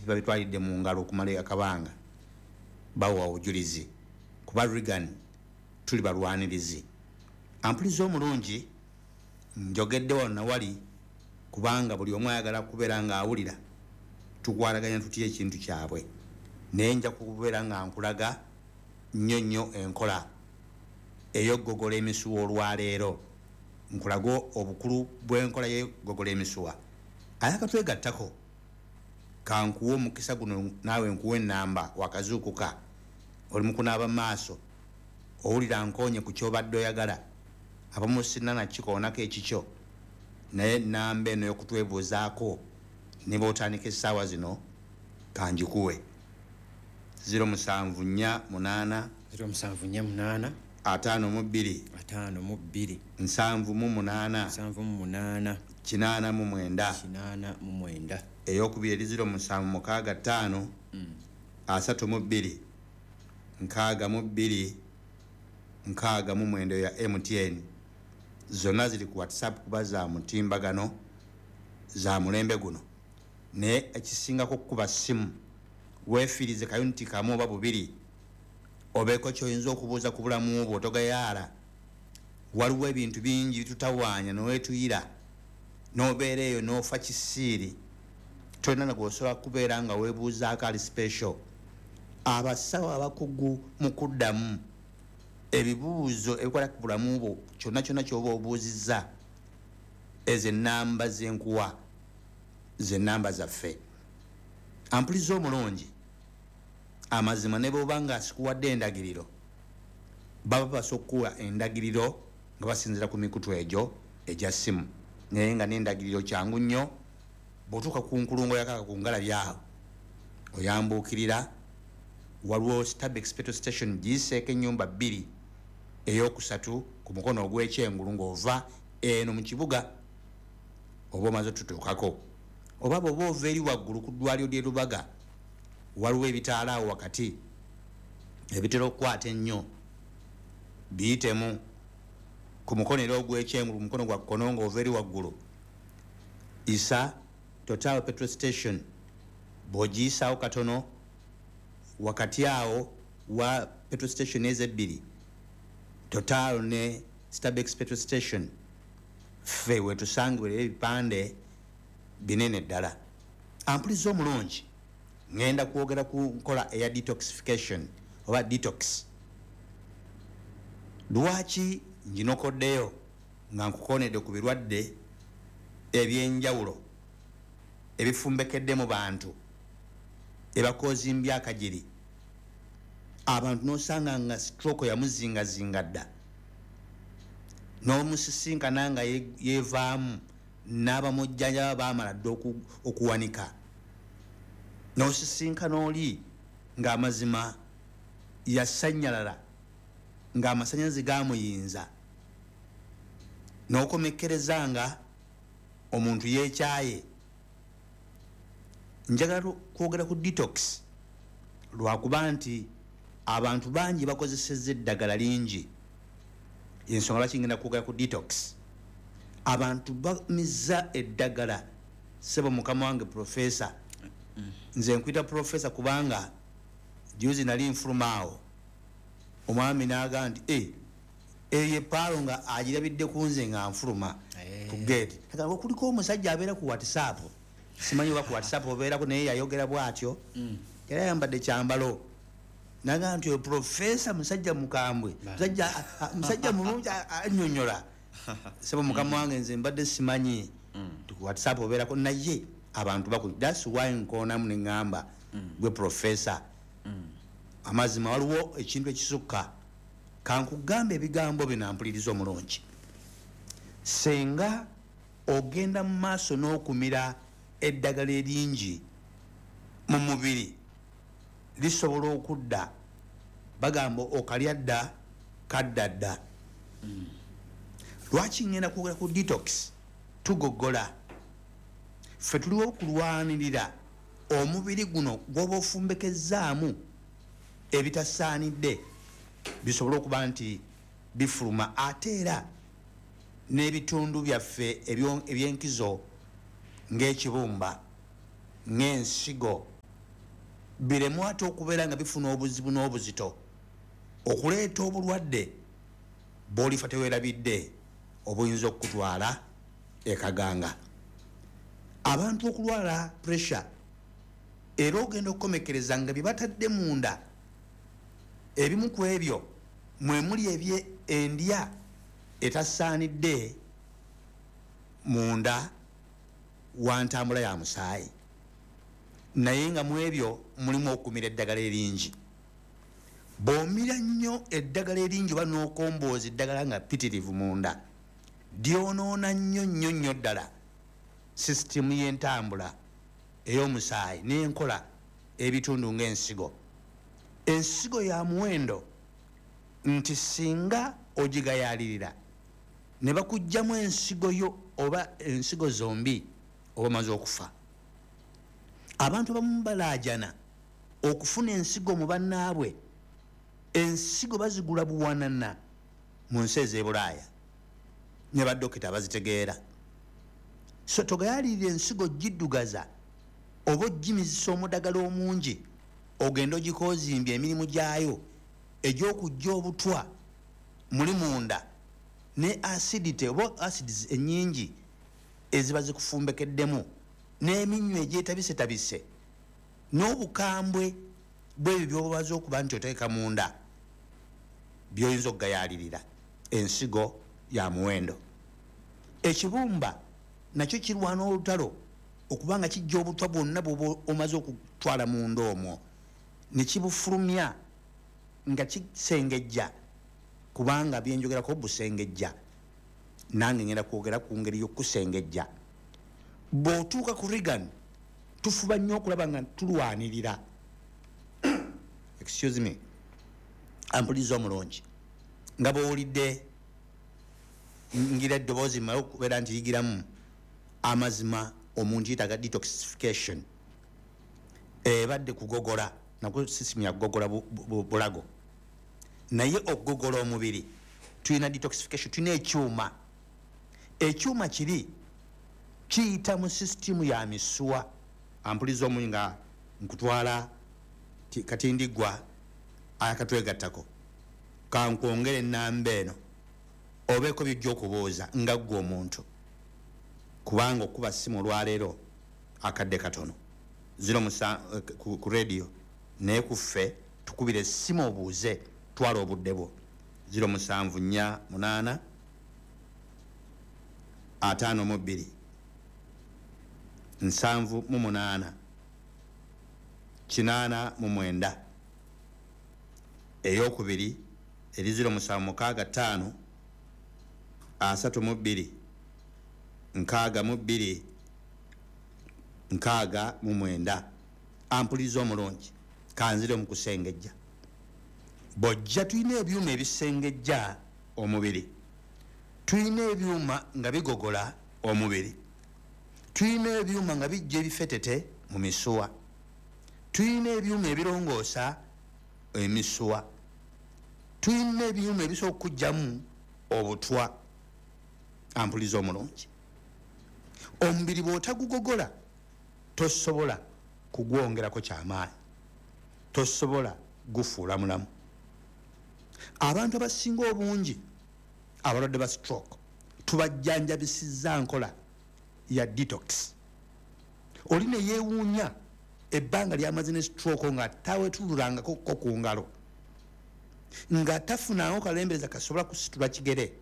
Babitwalidde mu ngalo okumala akabanga, bawa obujulizi kuba Regan tuli balwanirizi. Ampuliza omulungi, njogedde wano nawali kubanga buli omu ayagala kubeera ng'awulira tukwataganya tutya ekintu kyabwe, naye nja kubeera nga nkulaga nnyo nnyo enkola ey'okugogola emisuwa. Olwaleero nkulaga obukulu bw'enkola y'okugogola emisuwa. Ayakatwegattako, kankuwa omukisa guno naawe nkuwa enamba. Wakazuukuka, oli mukunaaba maaso, owulira nkonye ku kyobadde oyagala, abamu sina nakikoonako ekikyo, naye namba eno yokutwebuuzaako ne bwotandika essaawa zino kanjikuwe: 0748 0748 52 52 78 78 89. 89. Eyokubiri eri 0765 32 62 69 ya MTN. Zonna ziri ku WhatsApp kuba za mutimbagano, za mulembe guno. Naye ekisingako kukuba simu, weefiirize kayuniti kamu oba bubiri, obeeko kyoyinza okubuuza ku bulamu bwo. Togayaala, waliwo ebintu bingi bitutawaanya nowetuyira nobeera eyo nofa kisiiri, tolina nagwosobola kubeera nga weebuuzaako ali special. Abasawo abakugu mu kuddamu ebibuuzo ebikwata ku bulamu bwo, kyonna kyonna kyoba obuuzizza, ezo enamba zenkuwa zenamba zaffe. Ampuliza omulungi, amazima ne bwoba nga sikuwadde endagiriro, baba basobola okukuwa endagiriro nga basinzira ku mikutu egyo egya simu. Naye nga n'endagiriro kyangu nnyo, bw'otuuka ku nkulungo yakaka ku ngalabi awo oyambuukirira, waliwo Stabex petrol station, giyiseeko ennyumba bbiri, eyokusatu ku mukono ogw'ekyengulu ng'ova eno mu kibuga oba omaze otutuukako, oba bw'oba ova eri waggulu ku ddwaliro ly'e Lubaga, waliwo ebitaala awo wakati ebitera okukwata ennyo, biyitemu ku mukono era ogw'ekyengulu, ku mukono gwa kkono ng'ova eri waggulu, isa Total petrol station. Bw'ogiyisaawo katono, wakati awo wa petrol station ezo ebbiri, Total ne Stabex petrol station, ffe wetusangibwa era ebipande binene ddala. Ampuliza omulungi, ŋŋenda kwogera ku nkola eya detoxification oba detox. Lwaki nginokoddeyo nga nkukonedde ku birwadde ebyenjawulo ebifumbekedde mu bantu, ebakozimbya akagiri abantu, nosanga nga stroke yamuzingazinga dda, n'omusisinkana nga yevaamu n'abamujjanjaba bamala dda okuwanika, n'osisinkana oli ng'amazima yasanyalala, ng'amasanyalaze gamuyinza, n'okomekkereza nga omuntu yeekyaye? Njagala kwogera ku detox lwakuba nti abantu bangi bakozesezza eddagala lingi. Ensonga lwaki ngenda kwogera ku detox, abantu bamiza eddagala. Sebo mukama wange profesa, nze nkwita profesa kubanga juzi nali nfuluma awo, omwami naga nti, "Eh, eyo epaalo nga agirabidde ku nze nga nfuluma ku gate." Agamba kuliko omusajja abeera ku WhatsApp, simanyi oba ku WhatsApp obeerako, naye yayogera bwatyo, yali ayambadde kyambalo, naga nti oyo profesa musajja mukambwe, musajja mulungi, annyonnyola. Sebo mukama wange, nze mbadde simanyi nti ku WhatsApp obeerako, naye abantu baku, that's why nkoonamu neŋŋamba gwe profesa. Amazima waliwo ekintu ekisukka. Kankugamba ebigambo bino, ampuliriza omulungi, senga ogenda mu maaso n'okumira eddagala eringi mu mubiri, lisobola okudda. Bagamba okalya dda kadda dda. Lwaki ngenda kwogera ku detox? Tugogola ffe tuliwo okulwanirira omubiri guno gwoba ofumbekezzaamu ebitasaanidde bisobole okuba nti bifuluma, ate era n'ebitundu byaffe ebyenkizo ng'ekibumba, ng'ensigo. Biremu ate okubeera nga bifuna obuzibu n'obuzito okuleeta obulwadde bw'olifa teweerabidde obuyinza okukutwala ekaganga. Abantu okulwala pressure, era ogenda okukomekereza nga bye batadde munda, ebimu ku ebyo mwe muli ebye endya etasaanidde munda wa ntambula ya musaayi, naye nga mu ebyo mulimu okumira eddagala eringi. Bw'omira nnyo eddagala eringi oba n'okombooza eddagala nga ppitirivu munda, lyonoona nnyo nnyo nnyo ddala sisitimu y'entambula ey'omusaayi n'enkola ebitundu ng'ensigo. Ensigo ya muwendo nti singa ogigayaalirira ne bakuggyamu ensigo yo oba ensigo zombi, oba omaze okufa. Abantu abamu balaajana okufuna ensigo mu bannaabwe. Ensigo bazigula buwanana mu nsi ez'e Bulaaya ne badokita bazitegeera. So togayaalirira ensigo giddugaza oba ogimizisa omudagala omungi, ogenda ogikoozimbya emirimu gyayo egy'okujja obutwa muli munda ne acidity oba acids ennyingi eziba zikufumbekeddemu n'eminnyo egyetabisetabise n'obukambwe bw'ebyo by'obaza okuba nti oteeka munda by'oyinza okugayaalirira. Ensigo ya muwendo. Ekibumba nakyo kirwana olutalo okuba nga kijja obutwa bwonna bw'oba omaze okutwala munda omwo ne kibufulumya nga kisengejja, kubanga byenjogerako busengejja. Nange ngenda kwogera ku ngeri y'okusengejja. Bw'otuuka ku Reagan, tufuba nnyo okulaba nga tulwanirira, excuse me, ampuliza omulungi, nga bw'owulidde ngira eddoboozi mmale okubeera nti yigiramu amazima. Omuntu yeetaaga detoxification, ebadde kugogola nakwo sisimu ya kugogola bulago, naye okugogola omubiri. Tulina detoxification, tulina ekyuma. Ekyuma kiri kiyita mu sisitimu ya misuwa. Ampuliza omunyi, nga nkutwala katindigwa akatwegattako, kankwongere enamba eno obeeko byojja okubuuza nga ggwe omuntu, kubanga okuba simu olwaleero akadde katono ziro musa ku radio, naye kuffe tukubira essimu obuuze, twala obudde bwo. 0748 52 78 89. Eyokubiri eri 0765 32 62 69. Ampuliza omulungi, kanzire mu kusengejja. Bw'ojja, tulina ebyuma ebisengejja omubiri, tulina ebyuma nga bigogola omubiri, tulina ebyuma nga bijja ebifetete mu misuwa, tulina ebyuma ebirongoosa emisuwa, tulina ebyuma ebisobola okukugjamu obutwa. Ampuliza omulungi, omubiri bw'otagugogola tosobola kugwongerako kyamaanyi, tosobola gufuula mulamu. Abantu abasinga obungi abalwadde ba stroke tubajjanjabisizza nkola ya detox. Oli ne yeewuunya ebbanga lyamaze ne stroke nga tawetululangako ko ku ngalo, nga tafunango kalembereza kasobola kusitula kigere,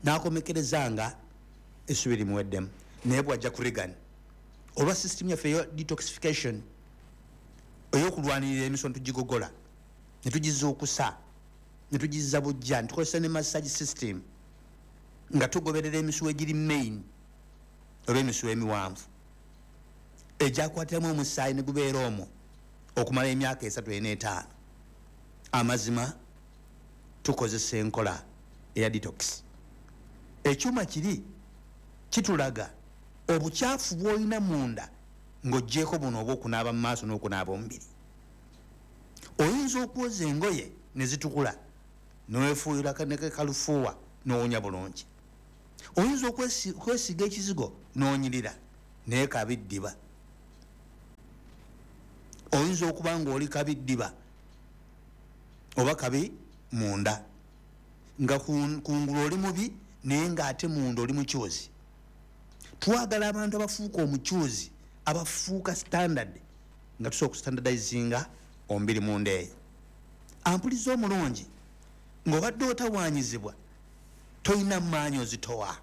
n'akomekereza nga essubi limuweddemu. Naye bwajja ku Reagan, olwa system yaffe eya detoxification, ey'okulwanirira emisono, tugigogola ne tugizuukusa ne tugizza bujja, netukozesa ne massage system nga tugoberera emisuwa egiri main oba emisuwa emiwanvu egyakwatiramu omusaayi ne gubeera omwo okumala emyaka 3, 4, 5. Amazima, tukozesa enkola eya detox. Ekyuma kiri kitulaga obukyafu bw'olina munda ng'oggyeko buno oba okunaaba mu maaso n'okunaaba omubiri. Oyinza okwoza engoye ne zitukula, newefuuyira kalufuuwa n'owunya bulungi. Oyinza okwesiiga ekizigo n'onyirira, naye kabiddiba. Oyinza okuba nga oli kabi ddiba oba kabi munda, nga kungulu oli mubi naye ng'ate munda oli mukyuzi. Twagala abantu abafuuka omukyuzi, abafuuka standard, nga tusobola okustandardizinga omubiri munda eyo. Ampuliza omulungi, ng'obadde otawaanyizibwa, tolina maanyi ozitowa,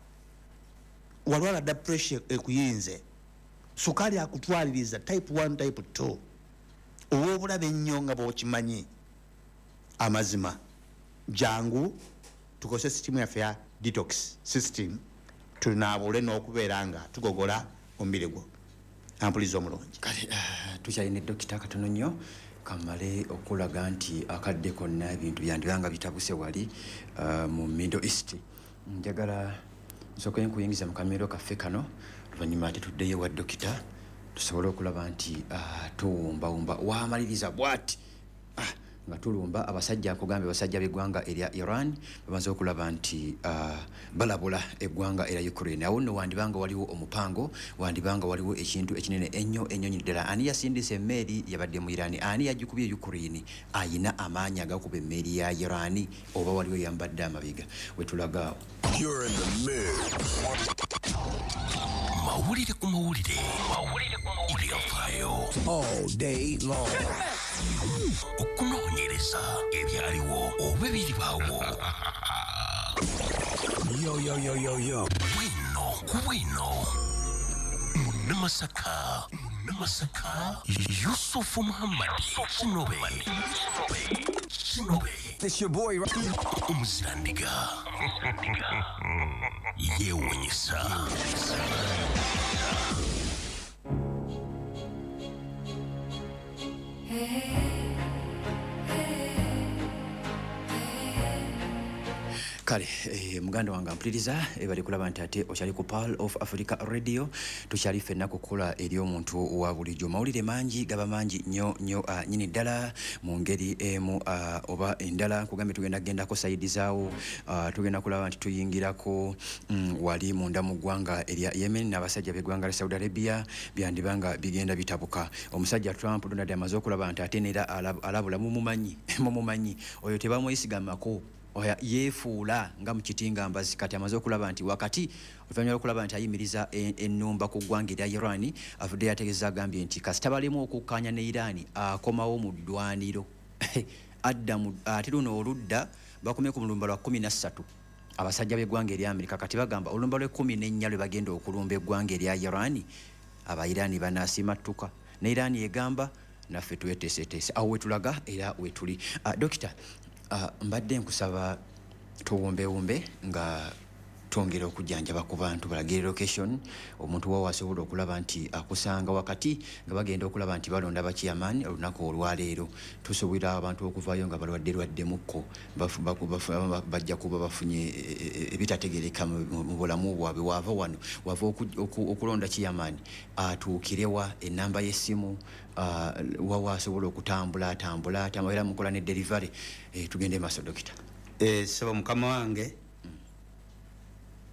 walwala dda, pressure ekuyinze, sukaali akutwaliriza, type 1, type 2, ow'obulabe ennyo nga bw'okimanyi. Amazima, jangu tukozese system yaffe ya detox system, tunaabule n'okubeera nga tugogola omubiri gwo. Ampuliza omulungi. Kale tukyalina dokita katono nnyo, kamale okulaga nti akadde konna ebintu byandibanga bitabuse wali mu Middle East. Njagala nsooke nkuyingiza mu kamiro kaffe kano, oluvannyuma ate tuddeyo wa dokita tusobole okulaba nti tuwumbawumba. Wamaliriza bw'ati nga tulumba abasajja, nkugambye abasajja b'eggwanga erya Iran bamaze okulaba nti balabula eggwanga erya Ukraine. Awo nno wandibanga waliwo omupango, wandibanga waliwo ekintu ekinene ennyo ennyo ddala. Ani yasindisa emmeeri yabadde mu Iran? Ani yagikubye Ukraine? Ayina amaanyi agakuba emmeeri ya Iran oba waliwo eyambadde amabega? Wetulaga awo. You're in the mix. Mawulire ku mawulire, mawulire ku mawulire, byafaayo All day long. Okunoonyereza ebyaliwo oba ebiribaawo. Yo, yo, yo, yo, yo. Bwino ku bwino, Munnamasaka, Munnamasaka Yusufu Muhammadi Kinobe, Kinobe. It's your boy. Omuzirandiga yeewuunyisa. Kale muganda wange ampuliriza, bali kulaba nti ate okyali ku Pearl of Africa Radio, tukyali ffenna kukola eri omuntu wa bulijjo. Mawulire mangi, gaba mangi nnyo nnyo nnyini ddala mu ngeri emu oba endala. Nkugambye tugenda kugendako side zaawo, tugenda kulaba nti tuyingirako wali munda mu ggwanga erya Yemen n'abasajja b'eggwanga lya Saudi Arabia, byandibanga bigenda bitabuka. Omusajja Trump Donald amaze okulaba nti ate neera alabula, mumumanyi, mumumanyi oyo tebamwesigamako, oya yeefuula nga mu kitinga mbazi. Kati amaze okulaba nti wakati oluvannyuma lw'okulaba nti ayimiriza ennumba ku ggwanga erya Iran, avuddeyo ategeeza, agambye nti kasita balimu okukkaanya ne Iran, akomawo mu ddwaniro, adda mu ate luno oludda bakomye ku mulumba lwa 13 abasajja b'eggwanga erya Amerika. Kati bagamba olumba lw'e14 lwe bagenda okulumba eggwanga erya Iran, aba Iran banaasimattuka, ne Iran egamba naffe tweteeseteese. Awo wetulaga era wetuli. Dokita, mbadde nkusaba tuwumbewumbe nga twongera okujjanjaba ku bantu, balagire location omuntu wawo asobola okulaba nti akusanga wakati nga bagenda okulaba nti balonda bachairman olunaku olwaleero. Tusuubira abantu okuvaayo nga balwadde lwaddemukko, bajja kuba bafunye ebitategereka mu bulamu bwabwe. Wava wano wava okulonda chairman, atuukirewa enamba y'essimu, wawa asobola okutambula atambula atambula, era mukola ne delivery. Tugende maaso, dokita. Sebo mukama wange,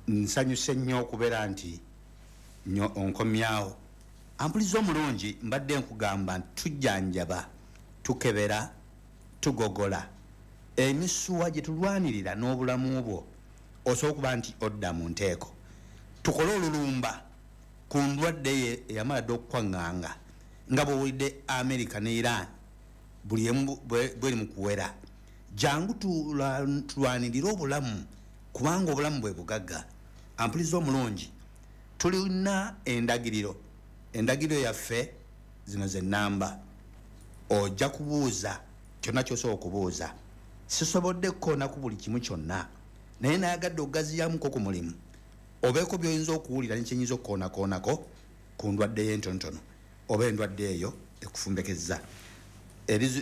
nsanyuse nnyo okubeera nti nyo onkomyawo. Ampuliza omulungi, mbadde nkugamba nti tujjanjaba, tukebera, tugogola emisuwa gye tulwanirira n'obulamu bwo, osobola okuba nti odda mu nteeko. Tukole olulumba ku ndwadde ye eyamala dda okukwaŋŋanga, nga bw'owulidde America ne Iran buli emu bweri mu kuwera. Jangu tulwanirire obulamu, kubanga obulamu bwe bugagga. Ampuliza omulungi, tulina endagiriro, endagiriro yaffe zino ze nnamba, ojja kubuuza kyonna ky'osobola okubuuza. Sisobodde kukoona ku buli kimu kyonna, naye nayagadde okugaziyamuko ku mulimu, obeeko by'oyinza okuwulira ne kyenyinza okukoonakoonako ku ndwadde y'entonotono oba endwadde eyo ekufumbekezza.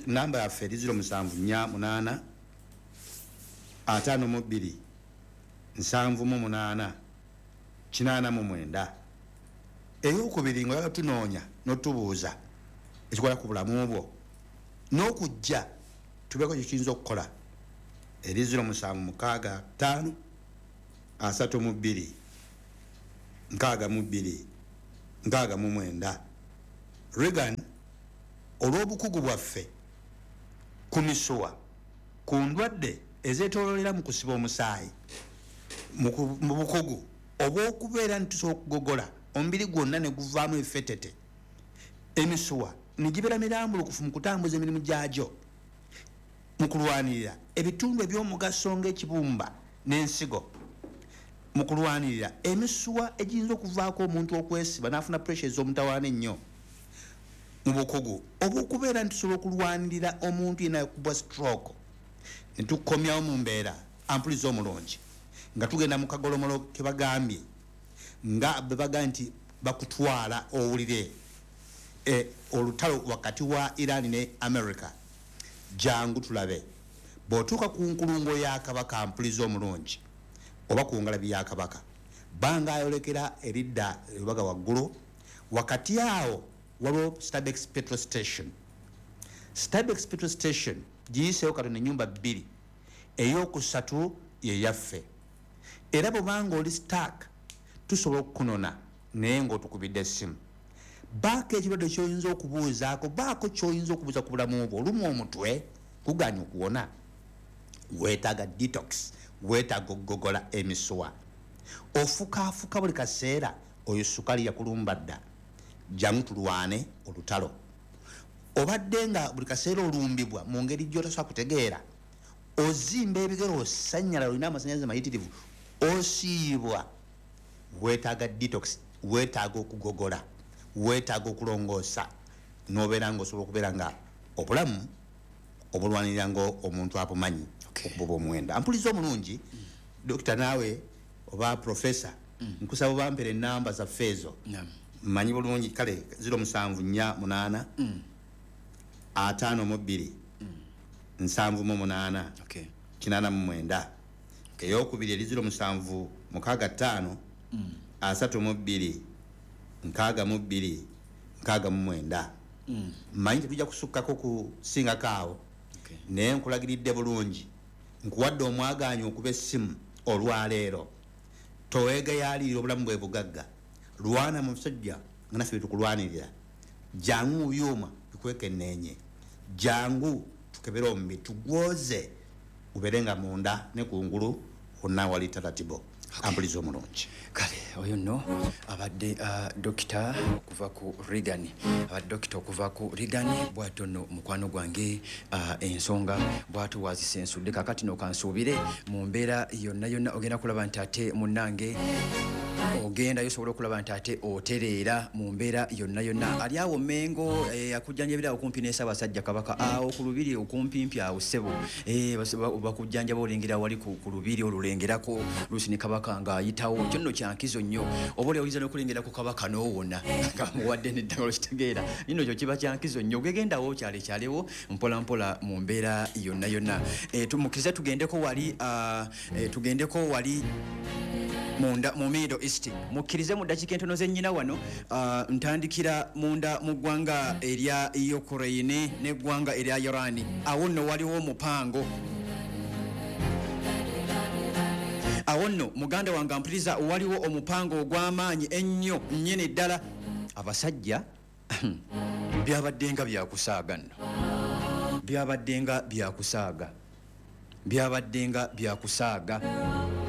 Namba yaffe eri 0748 52 78 89. Eyokubiri, nga tunoonya n'otubuuza ekikola ku bulamu bwo n'okujja tubeeko kye kiyinza okukola, eri 0765 32 62 69. Regan Olw'obukugu bwaffe ku misuwa, ku ndwadde ezeetooloolera mu kusiba omusaayi, mu bukugu obw'okubeera nti tusobola okugogola omubiri gwonna ne guvaamu effetete, emisuwa ne gibeera mirambulukufu mu kutambuza emirimu gyagyo, mu kulwanirira ebitundu eby'omugaso ng'ekibumba n'ensigo, mu kulwanirira emisuwa egiyinza okuvaako omuntu okwesiba n'afuna pressure ez'omutawaana ennyo, mu bukugu obw'okubeera nti tusobola okulwanirira omuntu yenna yakubwa stroke ne tukomyawo mu mbeera. Ampuliza omulungi, nga tugenda mu kagolomolo ke bagambye nga bwe bagambye nti bakutwala owulire olutalo wakati wa Iran ne America. Jangu tulabe bw'otuuka ku nkulungo ya Kabaka, mpuliza omulungi, oba ku ngalabi ya Kabaka, banga ayolekera eridda erubaga waggulu, wakati awo waliwo Stabex petrol station. Stabex petrol station giyiseewo katono, ennyumba bbiri, eyokusatu yeyaffe. Era bwobanga oli stuck, tusobola okukunona naye ng'otukubidde essimu. Baako ekirwadde kyoyinza okubuuzaako, baako kyoyinza okubuuza ku bulamu bwo. Olumu omutwe guganya okuwona, weetaaga detox, weetaaga okugogola emisuwa, ofukaafuka buli kaseera, oyo sukali yakulumba dda. Jangu tulwane olutalo. Obadde nga buli kaseera olumbibwa mu ngeri gy'otasobola kutegeera, ozimba ebigere, osanyala, olina amasanyalaze mayitirivu, osiibwa, weetaaga detox, weetaaga okugogola, weetaaga okulongoosa, n'obeera nga osobola okubeera nga obulamu obulwanirira nga omuntu abumanyi buba omuwendo. Ampuliza omulungi, dokita naawe oba profesa, nkusaba obampera enamba zaffe ezo. Mmanyi bulungi. Kale 0748 52 78 89. Eyokubiri eri 0765 32 62 69. Mmanyi tetujja kusukkako kusingako awo, naye nkulagiridde bulungi, nkuwadde omwagaanya okuba essimu olwaleero. Toweegayaalirira, obulamu bwe bugagga. Lwana mu musajja nga naffe byetukulwanirira. Jangu mu byuma bikwekenneenye, jangu tukebere omubiri, tugwoze, ubeere nga munda ne kungulu wonna wali taratibo. Ampuliza omulungi. Kale oyo nno abadde dokita okuva ku Regan, abadde dokita okuva ku Regan. Bwatyo nno mukwano gwange, ensonga bwatyo wazisensudde. Kakati no kansuubire mu mbeera yonna yonna ogenda kulaba nti ate munnange ogendayo osobola okulaba nti ate otereera mu mbeera yonna yonna. Ali awo Mengo, akujjanjabira awo kumpi ne Ssaabasajja Kabaka awo ku lubiri okumpimpi awo ssebo. Bakujjanjaba olengera wali ku lubiri olulengerako luusi ne Kabaka ng'ayitawo. Kyo nno kyankizo nnyo, oba oli oyinza n'okulengera ku Kabaka n'owona nga muwadde n'eddagala, okitegeera nino kyo kiba kyankizo nnyo. Ogegendawo kyalekyalewo mpola mpola mu mbeera yonna yonna. Tumukkirize tugendeko wali, tugendeko wali munda mu Middle East. Mukkirize mu ddakiika entono zennyina wano, ntandikira munda mu ggwanga erya Ukraine n'eggwanga erya Iran. Awo nno waliwo omupango. Awo nno muganda wange ampuliriza, waliwo omupango ogw'amaanyi ennyo nnyini ddala. Abasajja byabadde nga byakusaaga nno, byabadde nga byakusaaga, byabadde nga byakusaaga.